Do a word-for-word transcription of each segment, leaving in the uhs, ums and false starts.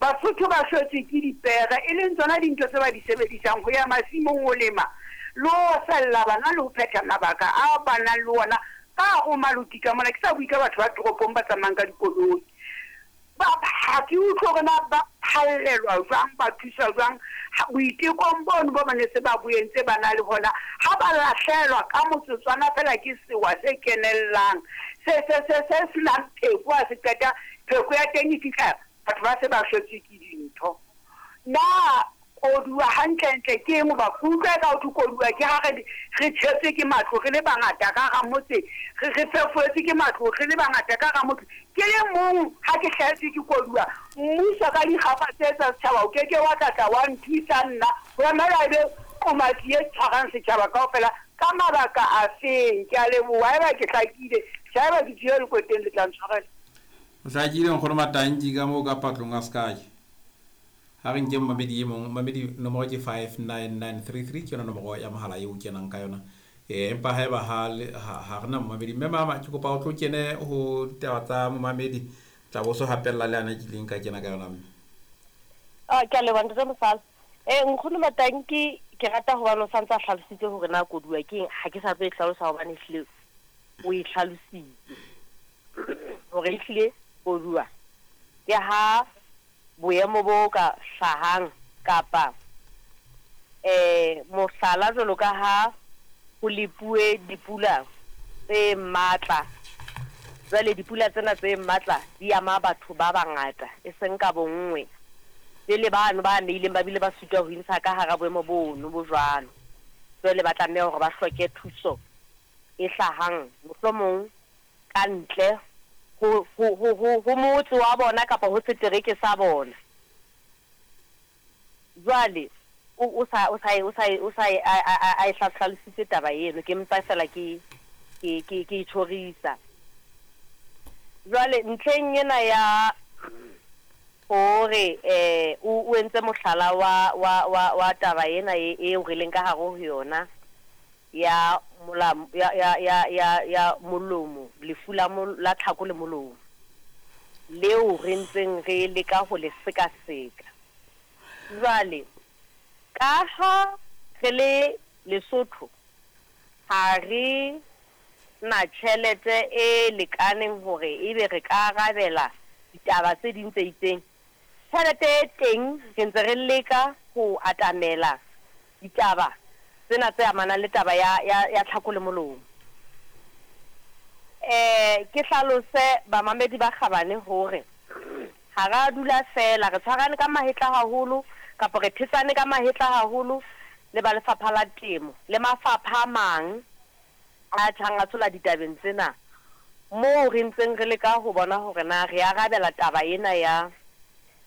Basotho ba shwetswe ke dipere, e leng tsona dintho tse ba di sebedisang ho ya masimong ho lema le ho sella bana le ho phetha mabaka a ba nang le ona ka hare ho maloti ka mona. Ke sa bue ka batho ba toropong ba tsamayang ka dikoloi. Ba ha ke utlwe hore na ba phallelwa jwang, ba thuswa jwang boitekong bono bo ba ne se ba bo entse ba na le hona. Ha ba lahlehelwa ka motsotswana feela ke sewa se kenellang, se se se se senang pheko, ha se qeta pheko ya teng e fihla batho ba se ba shwetswe ke dintho. Na koduwa hantlentle ke eng? Hoba ke utlwa eka hothwe koduwa ke ha re re tjhetswe ke matlo re le bangata ka hara motse, re re fefoetswe ke matlo re le bangata ka hara motse. Ke le mong ha ke hlahetswe ke koduwa, mmuso ka dikgapa tse tsa setjhaba o keke wa tla tla wa nthusa nna ho emela ebe qomatsi e tshwarang setjhaba kaofela ka mabaka a feng? Ke a leboha. Haeba ke hlakile, tjhe haeba ke tswile lekoteng le tla ntshwarela. O hlakile nkgono Matanki ka moo ka patlong a sky. Ha re nke momamedi e mong, momamedi nomoro ke five nine nine three three, ke yona nomoro ya mohala eo o kenang ka yona. Eh, empa haeba ha le, ha, ha re na momamedi, mme mama ke kopa o tlo kene ho ditaba tsa momamedi, tla bo so hapella le ana ke ileng ka kena ka yona mme. Ah, ke a leboha ntate Mosala. Eh, nkgono Matanki ke rata hobane o santse a hlalositse hore na koduwa ke eng, ha ke sa tlo e hlalosa hobane ehlile o e hlalositse. Hore ehlile koduwa ke ha boemo bo ka hlahang kapa eh mohlala jwalo ka ha ho lepuwe dipula tse matla. Jwale dipula tsena tse matla di ama batho ba bangata e seng ka bonngwe. Pele bano ba amehileng ba bile ba sitwa ho intsha ka hara boemo bono bo jwalo. Jwale ba tlameha hore ba hloke thuso e hlahang mohlomong ka ntle ho, ho, ho, ho, ho motse wa bona kapa ho setereke sa bona. Jwale o, o sa, o sa, o sa, o sa a, a, a, a e hlalositse taba eno, ke mpa fela ke, ke, ke, ke e tjhorisa. Jwale ntlheng ena ya hore eh o, o entse mohlala wa, wa, wa, wa taba ena e, eo re leng ka hare ho yona ya mola, ya, ya, ya, ya, ya molomo, lefu la mol-, la tlhako le molomo leo re ntseng re leka ho le sekaseka. Jwale ka ha re le Lesotho ha re na tjhelete e lekaneng hore ebe re ka arabela ditaba tse ding tse itseng. Tjhelete e teng re ntse re leka ho atamela ditaba tsena tse amanang le taba ya, ya, ya tlhako le molomo. Eh, ke hlalose bamamedi ba kgabane hore ha ra dula fela, re tshwarane ka mahetla haholo kapa re thetsane ka mahetla haholo le ba lefapha la temo le mafapha a mang a tjhang a tshola ditabeng tsena, moo re ntseng re leka ho bona hore na re arabela taba ena ya,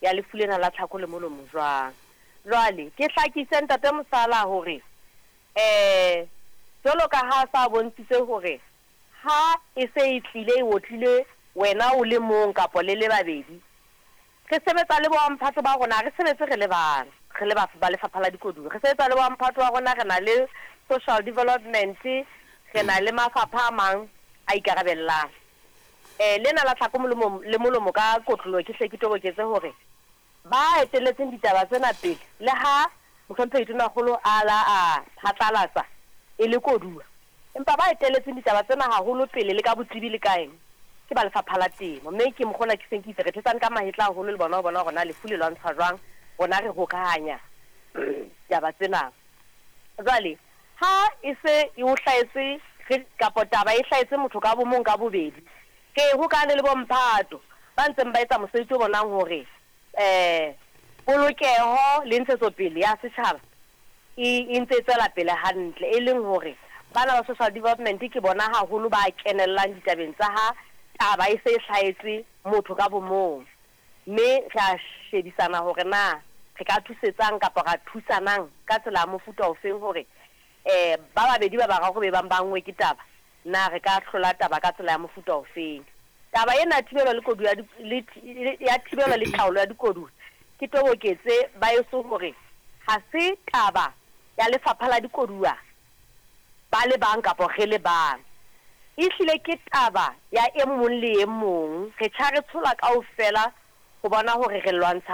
ya lefu lena la tlhako le molomo jwang. Jwale ke hlakise ntate Mosala hore eh jwalo ka ha sa bontshitse hore ha e se e tlile e otlile wena o le mong kapa le le babedi, re sebetsa le bomphato ba rona, re sebetse re le bang, re le ba, ba lefapha la dikoduwa, re sebetsa le bomphato wa rona, re na le social development, re na le mafapha a mang a ikarabellang. Eh, lena la tlhako molomo, le molomo ka kotloloho ke hle ke toboketse hore ba etelletseng ditaba tsena pele, le ha mohlomphehi Tonakgolo a la a phatlalatsa e le koduwa, empa ba etelletseng ditaba tsena haholo pele le ka botsebi le kaeng ke ba lefapha la temo. Mme ke mokgona ke seng ke itse re thetsane ka mahetla haholo le bona ho bona hore na lefu le lwantsha jwang, rona re hokahanya ditaba tsena. Jwale ha e se e o hlahetse re, kapa taba e hlahetse motho ka bo mong ka bobedi, ke hokane le bomphato ba ntseng ba etsa mosebetsi o bonang hore eh polokeho le ntshetsopele ya setjhaba e, e ntse e tswela pele hantle, e leng hore bana ba social development ke bona haholo ba kenellang ditabeng tsa ha taba e se e hlahetse motho ka bo mong. Mme re a shebisana hore na re ka thusetsang kapa ra thusanang ka tsela ya mofuta ofeng hore eh ba babedi ba bararo be bang ba nngwe ke taba, na re ka hlola taba ka tsela ya mofuta ofeng. Taba ena ya thibelo le koduwa ya di-, le thi-, ya thibelo le taolo ya dikoduwa ke toboketse ba eso hore ha se taba ya lefapha la dikoduwa ba le bang kapa re le bang, ehlile ke taba ya e mong le e mong. Re tjha re tshola kaofela ho bona hore re lwantsha